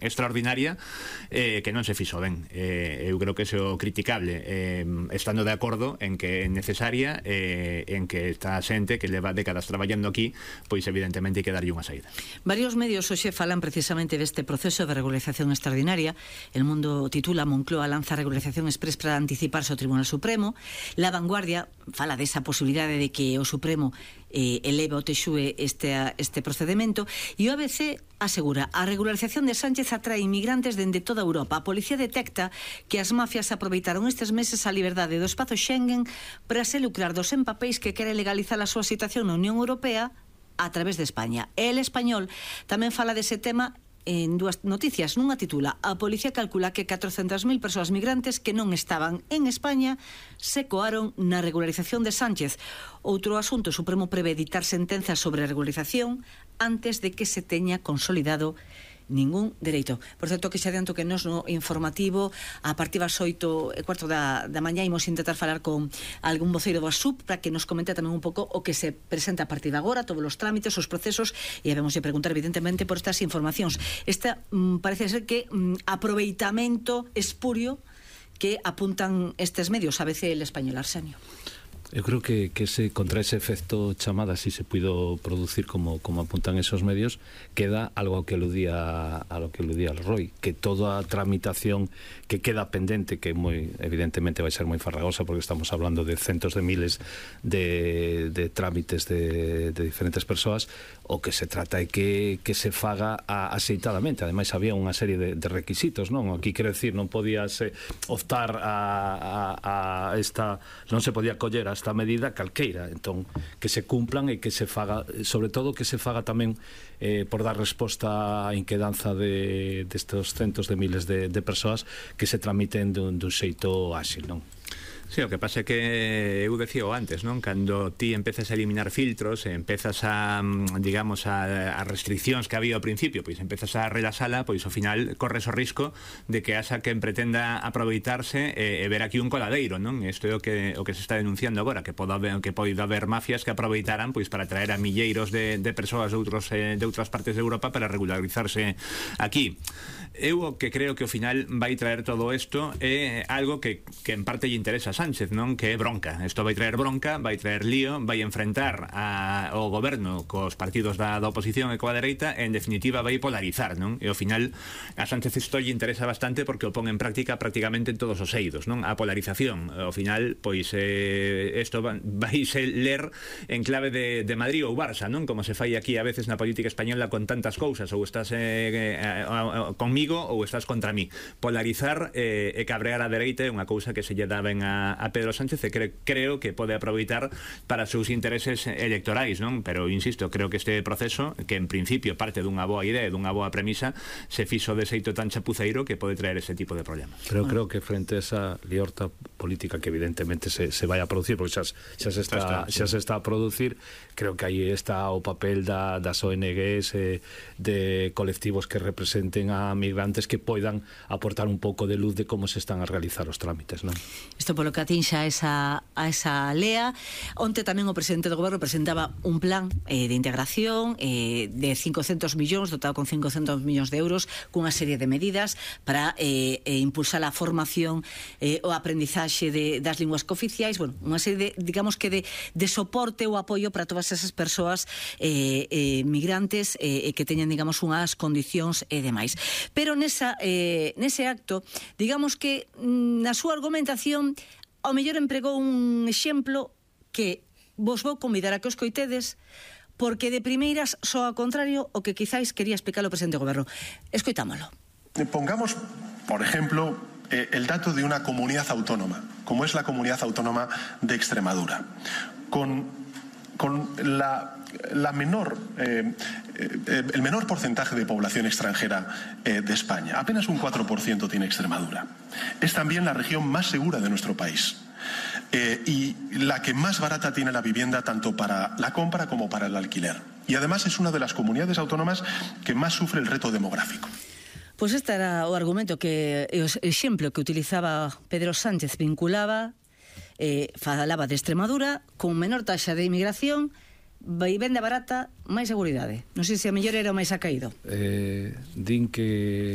extraordinaria que non se fixo ben. Eu creo que é o criticable, estando de acordo en que é necesaria, en que esta xente que leva décadas traballando aquí, pois evidentemente hai que darlle unha saída. Varios medios hoxe falan precisamente deste proceso de regularización extraordinaria. El Mundo titula: Moncloa lanza regularización express para anticiparse ao Tribunal Supremo. La Vanguardia fala desa posibilidade de que o Supremo eleva o TXUE este procedemento, e o ABC asegura: a regularización de Sánchez atrae inmigrantes dende toda Europa. A policía detecta que as mafias aproveitaron estes meses a liberdade do espazo Schengen para se lucrar dos empapéis que quere legalizar a súa situación na Unión Europea a través de España. El Español tamén fala dese tema en dúas noticias. Nunha titula: a policía calcula que 400.000 persoas migrantes que non estaban en España se coaron na regularización de Sánchez. Outro asunto: o Supremo prevé dictar sentenzas sobre a regularización antes de que se teña consolidado ningún dereito. Por certo, que xa adianto que nos no informativo a partir das 8:15 da mañá imos intentar falar con algún voceiro do ASUP para que nos comente tamén un pouco o que se presenta a partir de agora, todos os trámites, os procesos, e vamos a preguntar evidentemente por estas informacións. Esta parece ser que aproveitamento espurio que apuntan estes medios, a veces el Español. Arsenio. Eu creo que contra ese efecto chamada, si se puido producir como apuntan esos medios, queda algo que aludía al Roy, que toda a tramitación que queda pendente, que evidentemente vai ser moi farragosa, porque estamos hablando de centos de miles de trámites de diferentes persoas, o que se trata é que se faga axeitadamente. Ademais, había unha serie de requisitos, non? Aquí, quero decir, non podías optar a esta, non se podía coller a esta medida calqueira, entón que se cumplan e que se faga, sobre todo que se faga tamén por dar resposta á inquedanza destes centos de miles de persoas, que se tramiten dun xeito áxil, non? Sí, o que pasa é que eu decío antes, non? Cando ti empezas a eliminar filtros, empezas a, digamos, a restriccións que había ao principio, pois empezas a relaxala, pois ao final corres o risco de que haxa quen pretenda aproveitarse e ver aquí un coladeiro, non? Isto é o que se está denunciando agora, que pode haber mafias que aproveitaran pois para traer a milleiros de persoas de outras partes de Europa para regularizarse aquí. Eu o que creo que ao final vai traer todo isto é algo que en parte lle interesa a Sánchez, non? Que é bronca. Isto vai traer bronca, vai traer lío, vai enfrentar ao goberno cos partidos da oposición e coa dereita, e en definitiva vai polarizar, non? E ao final a Sánchez isto lle interesa bastante porque o pon en práctica prácticamente en todos os eidos, non? A polarización, ao final, pois isto vai se ler en clave de Madrid ou Barça, non? Como se fai aquí a veces na política española con tantas cousas, ou estás conmigo ou estás contra mí. Polarizar e cabrear a dereita é unha cousa que se lle dá ben a Pedro Sánchez, e creo que pode aproveitar para os seus intereses electorais, non? Pero insisto, creo que este proceso, que en principio parte dunha boa idea e dunha boa premisa, se fixo de xeito tan chapuceiro que pode traer ese tipo de problemas. Pero creo que frente a esa liorta política que evidentemente se vai a producir, porque xa se está a producir, creo que aí está o papel das ONGs, de colectivos que representen a migrantes, que poidan aportar un pouco de luz de como se están a realizar os trámites, non? Isto polo que atinxa a esa lea. Onte tamén o presidente do goberno presentaba un plan de integración de 500 millóns, dotado con 500 millóns de euros, cunha serie de medidas para impulsar a formación o aprendizaxe das linguas cooficiais, bueno, unha serie de, digamos que de soporte ou apoio para todas esas persoas migrantes que teñan, digamos, unhas condicións e demais. Pero nese acto, digamos que na súa argumentación ao mellor empregou un exemplo que vos vou convidar a que os coitedes, porque de primeiras só ao contrario o que quizáis quería explicar o presidente do goberno. Escoitámolo. Pongamos, por ejemplo, el dato de una comunidad autónoma, como es la comunidad autónoma de Extremadura, con el menor porcentaje de población extranjera de España. Apenas un 4% tiene Extremadura. Es también la región más segura de nuestro país. Y la que más barata tiene la vivienda, tanto para la compra como para el alquiler. Y además es una de las comunidades autónomas que más sufre el reto demográfico. Pois este era o argumento, que o exemplo que utilizaba Pedro Sánchez, vinculaba, falaba de Extremadura con menor taxa de inmigración, vivenda barata, máis seguridade. Non sei se a mellor era o máis acaído. Din que